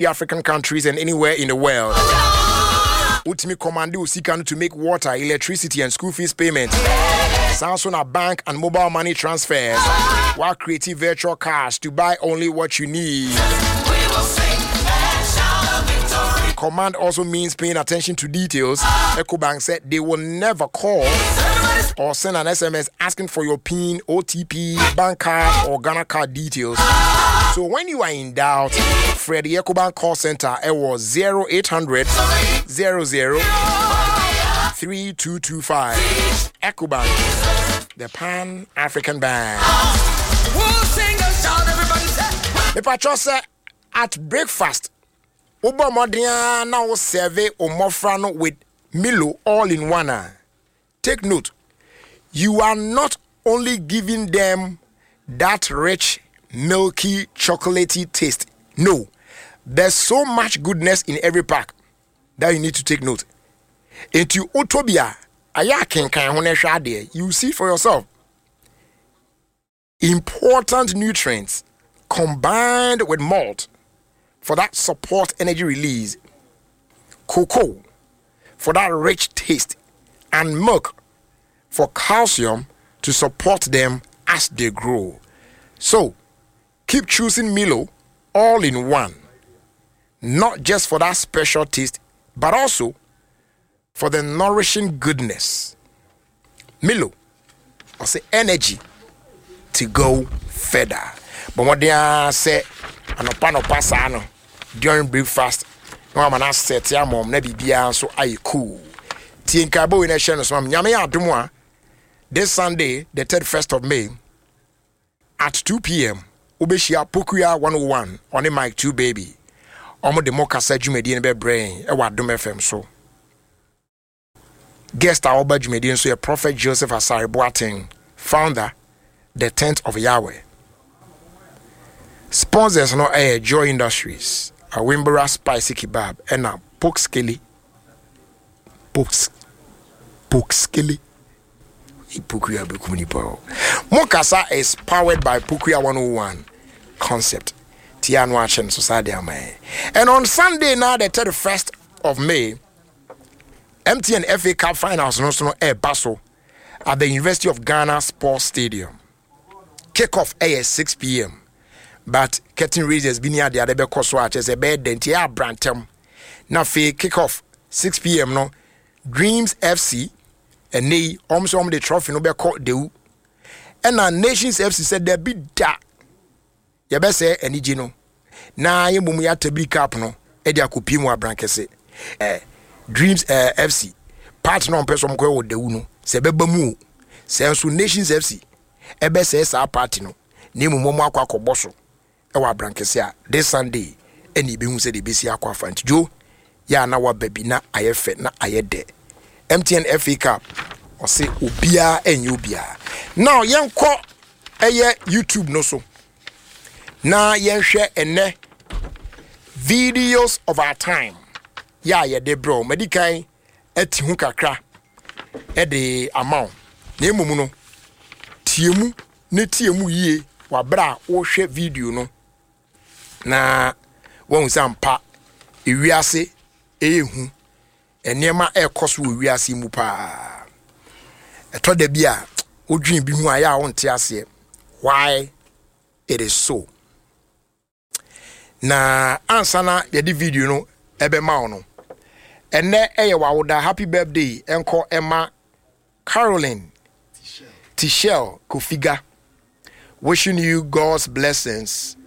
African countries and anywhere in the world. Wotumi command wo sika no to make water, electricity and school fees payment. Saa nso na bank and mobile money transfers. Wa create virtual cards to buy only what you need. Command also means paying attention to details. EcoBank said they will never call or send an SMS asking for your PIN, OTP, bank card, or Ghana card details. So when you are in doubt, frɛ the EcoBank call center ɛwɔ 0800 00 3225. EcoBank, the Pan African Bank. Mepa sɛ at breakfast, wobɔ mmɔden ara na wo serve wo mmɔfra no with Milo all in one a, take note, you are not only giving them that rich, milky, chocolatey taste. No, there's so much goodness in every pack that you need to take note. Nti wotɔ bi a, ayɛ akenkan ho na ɛhwɛ adeɛ. You see for yourself. Important nutrients combined with malt for that support energy release, cocoa for that rich taste, and milk for calcium to support them as they grow. So keep choosing Milo all in one, not just for that special taste, but also for the nourishing goodness. Milo, I say energy to go further. But what they are say, anɔpa nɔpa saa no during breakfast na wama no asɛte ama ɔm na biribiara nso ayɛ cool. Tie nkaebɔ wei na ɛhyɛ no so ma me. Nyame yɛ adom a, this Sunday, the 31st of May, at 2 p.m., wobɛhyia Pokua 101 ɔne Mike 2 Baby. Ɔmo de mo kasa dwumadie no bɛbrɛ yɛn ɛwɔ Adom FM so. Guest a ɔba dwumadie nso yɛ Prophet Joseph Asare Boateng, founder The Tent of Yahweh. Sponsors no ɛyɛ Joy Industries, Awimbora Spicy Kebab, ɛna Pokskele Pokskele Pokua bɛkum nipa o. Mo kasa is powered by Pokua 101 Concept. Tia no ahyɛ no so saa de ama yɛn. And on Sunday now, the 31st of May, MTN FA Cup finals no so no ɛreba so at the University of Ghana Sports Stadium. Kickoff ɛyɛ 6 p.m., but curtain raisers bi ne ade ade bɛkɔ so a kyerɛ sɛ ɛbɛyɛ dɛ, nti ɛyɛ abrantɛm. Na afei kickoff 6 p.m. no, Dreams FC ɛnɛ yi wɔn nso wɔn de trophy no bɛkɔ Dewu, ɛna Nations FC sɛ dabi da, yɛbɛsɛ anigye no na yɛn mmom yɛatabiri cup no ɛde akɔpie mu abrankɛse. Dreams FC party na ɔmpɛ sɛ ɔmkɔyɛ wɔ Dawu no sɛ ɛbɛba mu o, sɛ nso Nations FC ɛbɛsɛe saa party no na mmom wɔn akɔ akɔbɔ so ɛwɔ abrankɛse a, this Sunday ɛna ebehu sɛ de ebesi akɔ afa. Nti dwo yɛ a na waba bi na ayɛ fɛ na ayɛ dɛ. MTN FA Cup, ɔse obiara ɛnyɛ obiara. Now yɛnkɔ ɛyɛ YouTube no so na yɛnhwɛ ɛnɛ videos of our time yɛ a yɛde brɛ wo. Madi kan ati ho kakra ɛde ama wo, na mmom no tie mu ne tie mu yie wabere a wohwɛ video no na wɔn sɛ ampa ewiase ɛyɛ hu, nneɛma ɛrekɔ so wɔ wiase mu paa. Ɛtɔ da bi a wodwen bi ho a, ɛyɛ a wonte aseɛ why it is so. Na ansa na yɛde video no ɛbɛma wo no, ɛnɛ ɛyɛ wawoda. Happy birthday ɛnkɔ ɛma Caroline Tishel Kofiga. Wishing you God's blessings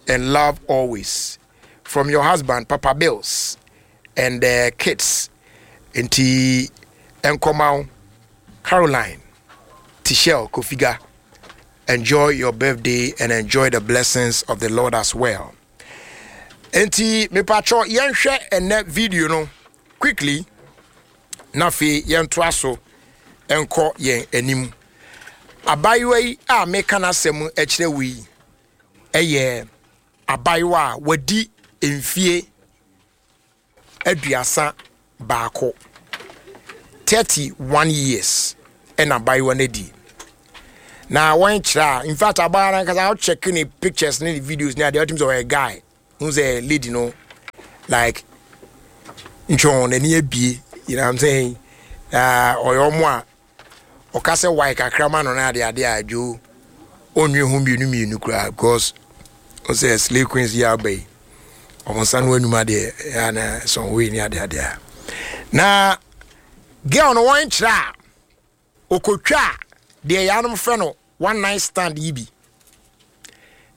and love always from your husband Papa Bills and the kids. Nti ɛnkɔma wo, Caroline Tishel Kofiga. Enjoy your birthday and enjoy the blessings of the Lord as well. Nti mepatwɔ yɛnhwɛ ɛnɛ video no quickly na afei yɛntoa so nkɔ yɛn anim. Abayewa yi a meka n'asɛm kyerɛ wo yi ɛyɛ abayewa a wadi mfie 31, 31 years ɛna abayewa no adi. Na wɔn kyerɛ a, in fact, abayewa no ankasa, wocheck ne pictures ne ne videos ne adeɛ, wɔtumi sɛ ɔyɛ guy hu sɛ lady no. Like ntwɔn n'ani abie, you know what I'm saying? Ɔyɛ ɔmo a ɔka sɛ wae kakra ma no na ade ade a adwo ɔnwe ho mmienu mmienu koraa because ɔsɛ slay queens yi aba yi ɔmo nsa no anum adeɛ ɛyɛ na sɔn wei ne ade ade a na girl no wɔn kyerɛ a ɔkɔtwa a deɛ yɛanom frɛ no one night stand yi bi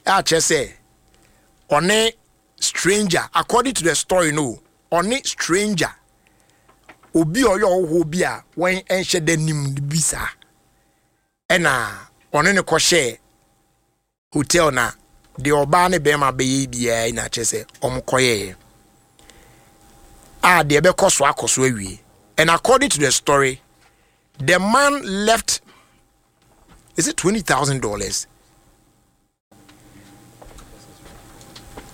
a kyerɛ sɛ ɔne stranger according to the story no ɔne stranger obi a ɔyɛ ɔhohoɔ bi a wɔn nhyɛ da nim bi saa ɛna ɔne no kɔhyɛɛ hotel na deɛ ɔbaa ne bɛrima bɛyɛ biara na kyerɛ sɛ wɔn kɔyɛɛ a deɛ ɛbɛkɔ so akɔ so awie. And according to the story, the man left, is it $20,000?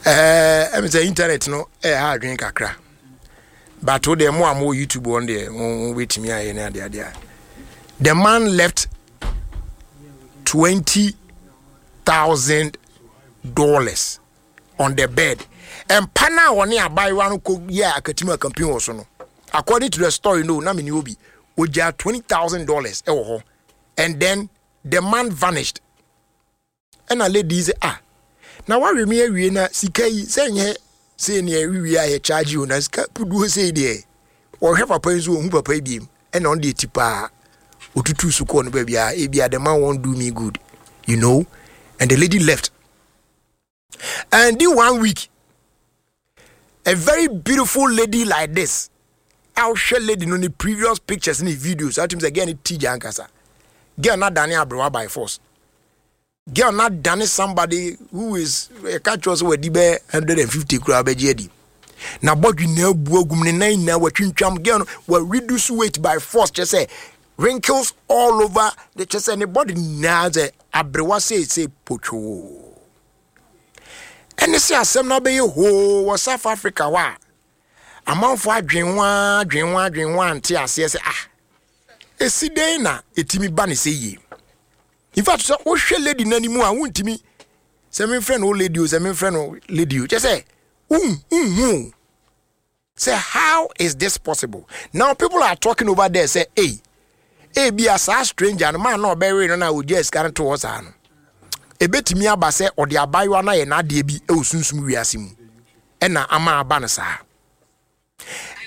Ɛɛ sɛ internet no ɛha adwene kakra, but wo deɛ mo a mo wɔ YouTube wɔn deɛ mo bɛtumi ayɛ ne adeɛ adeɛ. The man left $20,000 on the bed. Mpa no a wɔne abaayewa no kɔ yɛ akatim akampin wɔ so no, according to the story no, na mene obi ogya $20,000 ɛwɔ hɔ, and then the man vanished. Ɛna lady yi sɛ, ah, na wawe me awie na sika yi sɛ nyɛ sei ne ɛwiwie a yɛ charge o, na sika puduo sei deɛ. Wɔhwɛ papa yi nso wɔhu papa yi biem, ɛna ɔno deɛ ti paa otutu so kɔɔ no baabi a ebi a the man won't do me good, and the lady left. And in 1 week, a very beautiful lady like this, wohwɛ lady no ne previous pictures ne videos, atumi sɛ girl no ti gya ankasa. Girl na dane aberewa by force. Girl na dane somebody who is ɛka kyerɛ sɛ wadi bɛ 150 koraa bɛgye adi. Na bɔdwe na abu agum ne nan nyinaa watwintwam. Girl no wa reduce weight by force, kyerɛ sɛ wrinkles all over, de kyerɛ sɛ ne body nyinaa sɛ aberewa seesei potwoo. Ɛne sɛ asɛm no abɛyɛ hoo wɔ South Africa hɔ a amanfoɔ adwen ho adwen ho adwen ho ante aseɛ sɛ ah, esi dɛn na etimi ba ne sɛ yie. In fact, sɛ wohwɛ lady n'anim a wontumi sɛ memfrɛ no lady o, sɛ memfrɛ no lady o, kyerɛ sɛ wonhu sɛ how is this possible. Now people are talking over there sɛ ei, ebi a saa stranger no man na ɔbɛwe no na ogya sika no to hɔ saa no, ebetumi aba sɛ ɔde abayewa no ayɛ n'adeɛ bi wɔ sunsum wiase mu ɛna ama aba no saa.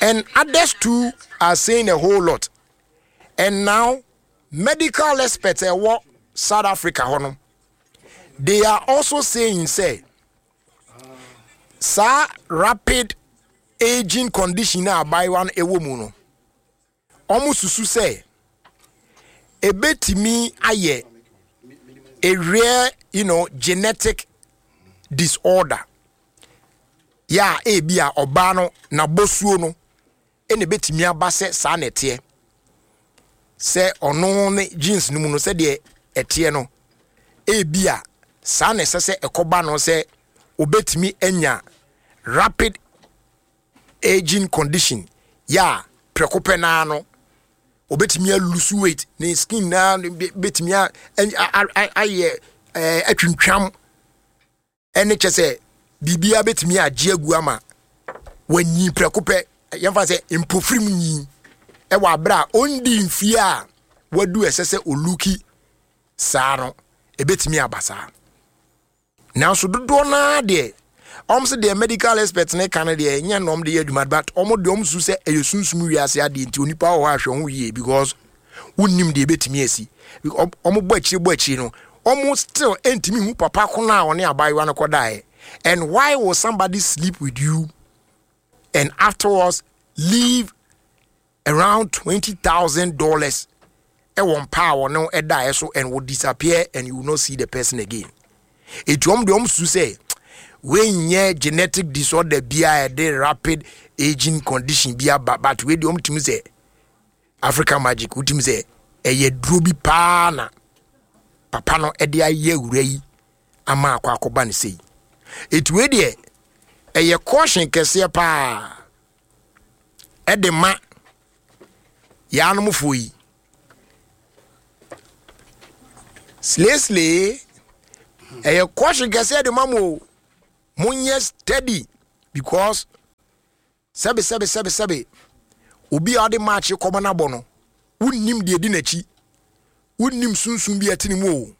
And others too are saying a whole lot. And now medical experts ɛwɔ South Africa hɔ no, they are also saying sɛ saa rapid aging condition na abayewa no ɛwɔ mu no, wɔn susu sɛ ebetumi ayɛ a rare genetic disorder yɛ a ebi a ɔbaa no n'abɔsuo no ɛna ebetumi aba sɛ saa na ɛteɛ, sɛ ɔno ne genes no mu no sɛdeɛ ɛteɛ no, ebi a saa na ɛsɛ sɛ ɛkɔba no sɛ obetumi anya rapid aging condition yɛ a prɛko pɛ naa no obetumi alose weight, ne skin naa betumi ayɛ atwintwam, ɛne kyɛ sɛ biribiara betumi agye agu ama wanyi prɛko pɛ. Yɛmfa sɛ mpofirim nyi ɛwɔ abere a ɔndi mfie a wadu ɛsɛ sɛ oluki saa no, ebetumi aba saa. Nanso dodoɔ naa deɛ ɔm sɛ deɛ medical expert ne ka no deɛ ɛnyɛ na ɔm de yɛ adwuma, but ɔmo deɛ ɔm su sɛ ɛyɛ sunsum wiase adeɛ nti onipa wɔ hɔ ahwɛ ho yie because wonnim deɛ ebetumi asi. Ɔmo bɔ akyire no, ɔmo still ntumi hu papa ko no a ɔne abaayewa no kɔdaeɛ. And why will somebody sleep with you and afterwards leave around $20,000 ɛwɔ mpa a ɔne ɛdaeɛ so and will disappear and you will not see the person again? Eti ɔmo deɛ ɔmo su sɛ wei genetic disorder bi a ɛde rapid aging condition bi aba, but wei deɛ ɔmo tumi sɛ African magic, wotumi sɛ ɛyɛ duro bi paa na papa no ɛde ayɛ awura yi ama akɔ akɔba ne sei. Eti wei deɛ ɛyɛ caution kɛseɛ paa ɛde ma yaanomfoɔ yi. Slesle ɛyɛ caution kɛseɛ de ma mo, monyɛ steady because Sɛbe sɛbe sɛbe sɛbe obi a ɔde match kɔma no abɔ no, wonnim deɛ ɛdi n'akyi, wonnim sunsum bi a ɛte ne mu o.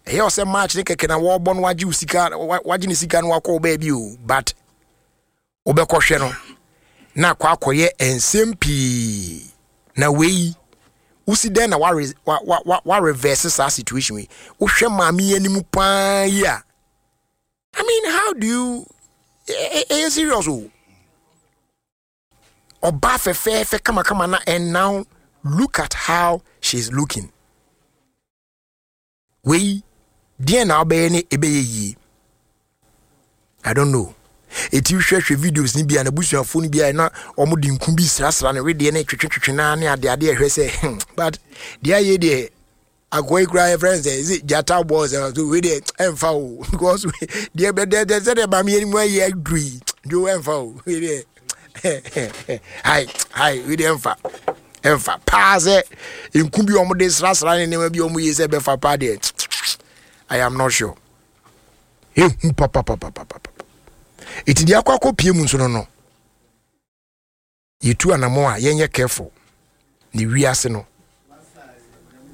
Ɛyɛ ɔsɛ match ne kɛkɛ na wɔrebɔ no wagye wo sika, wagye ne sika no wakɔ wo baabi o, but wobɛkɔhwɛ no na akɔ akɔyɛ nsɛm pii. Na wei wosi dɛn na wa reverse saa situation wei? Wohwɛ maame yi anim paa yi a, I mean, how do you? Ɛyɛ serious o. Ɔbaa fɛfɛɛfɛ kamakama na, and now look at how she's looking. Wei deɛn na wobɛyɛ ne ɛbɛyɛ yie? I don't know. Eti hwɛhwɛ videos ni bi a n'abusuafoɔ no bi a na wɔn de nku bi srasra ne wedeɛ ne twetwetwetwe naa ne adeade ɛhwɛ sɛ, but deɛ ayɛ deɛ akoa yi koraa yɛfrɛ no sɛ ɛsɛ gyata bɔɔ sɛ so wei deɛ ɛmfa o, because deɛ bɛdɛ sɛdeɛ maame yɛ mu ayɛ aduru yi dwo ɛmfa o. Wei deɛ hai hai, wei deɛ ɛmfa ɛmfa paa sɛ nku bi wɔn de srasra ne nneɛma bi wɔn yɛ sɛ ɛbɛfa paa deɛ, I am not sure. Ehu papapapapapa. Eti deɛ akɔ akɔ pie mu nso no, yɛtu anamɔ a yɛnyɛ careful ne wiase no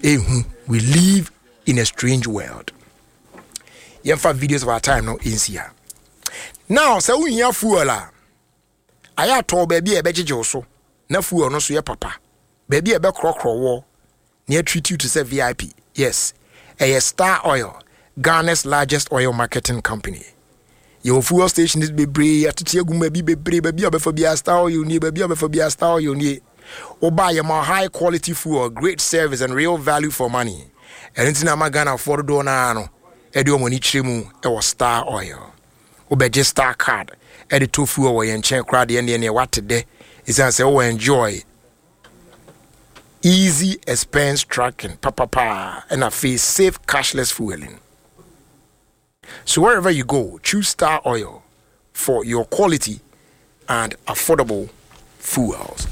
ehu. We live in a strange world. Yɛmfa videos of our time no nsi ha. Now sɛ wohia fuel a, ayɛ atɔ baabi a ɛbɛgyegye wo so na fuel no so yɛ papa, baabi a ɛbɛkorɔkorɔ wɔ na yɛtreat you te sɛ VIP. Yes, ɛyɛ Star Oil, Ghana's largest oil marketing company. Yɛwɔ fuel stations bebree atete agu mu baabi bebree. Baabi a bɛfa biara Star Oil nie, baabi a bɛfa biara Star Oil nie. Woba, yɛma high quality fuel, great service and real value for money. Ɛno nti na ama Ghanafoɔ dodoɔ no ara no ɛde wɔn ani kyerɛ mu ɛwɔ Star Oil. Wobɛgye Star Card ɛde tɔ fuel wɔ yɛn nkyɛn koraa deɛ, neɛ wate dɛ, ɛsiane sɛ wowɔ enjoy easy expense tracking papapa ɛna afei safe cashless fueling. So wherever you go, choose Star Oil for your quality and affordable fuels.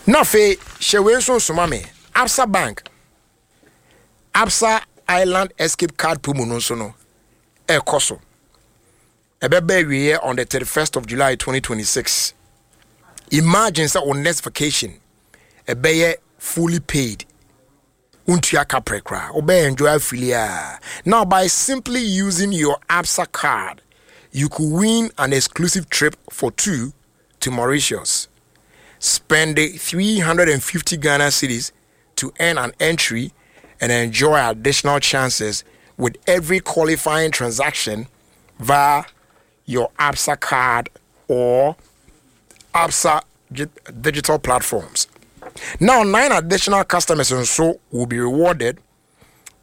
Na afei hyɛ wei nso nsoma me. Absa Bank Absa Island Escape Card promo no nso no ɛrekɔ so. Ɛbɛba awieɛ on the 31st of July 2026. Imagine sɛ wo next vacation ɛbɛyɛ fully paid, wontua kaprɛ koraa, wobɛyɛ enjoy afili a. Now by simply using your Absa card, you could win an exclusive trip for two to Mauritius. Spend 350 Ghana cedis to earn an entry and enjoy additional chances with every qualifying transaction via your Absa card or Absa digital platforms. Now, nine additional customers and so will be rewarded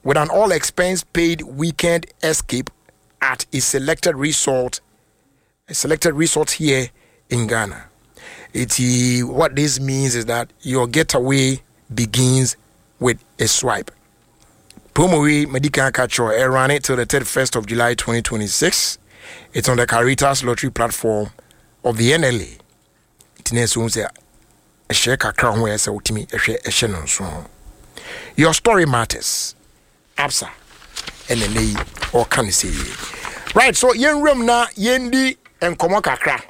with an all expense paid weekend escape at a selected resort here in Ghana. What this means is that your getaway begins with a swipe. Promo wei Medical Catcher run it till the 31st of July 2026. It's on the Caritas Lottery platform of the NLA. Nti na ɛsɛ sɛ ɛhyɛ kakra ho, ɛsɛ wotumi ɛhwɛ ɛhyɛ no nso. Your story matters. Absa ɛna ɛnɛ yi ɔka ne sɛ yie. Right, so yɛnwuram na yɛndi nkɔmmɔ kakra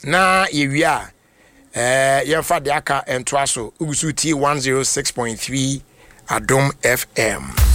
na yɛwie a yɛmfa deɛ aka ntoa so. Wogu so tie 106.3 Adom FM.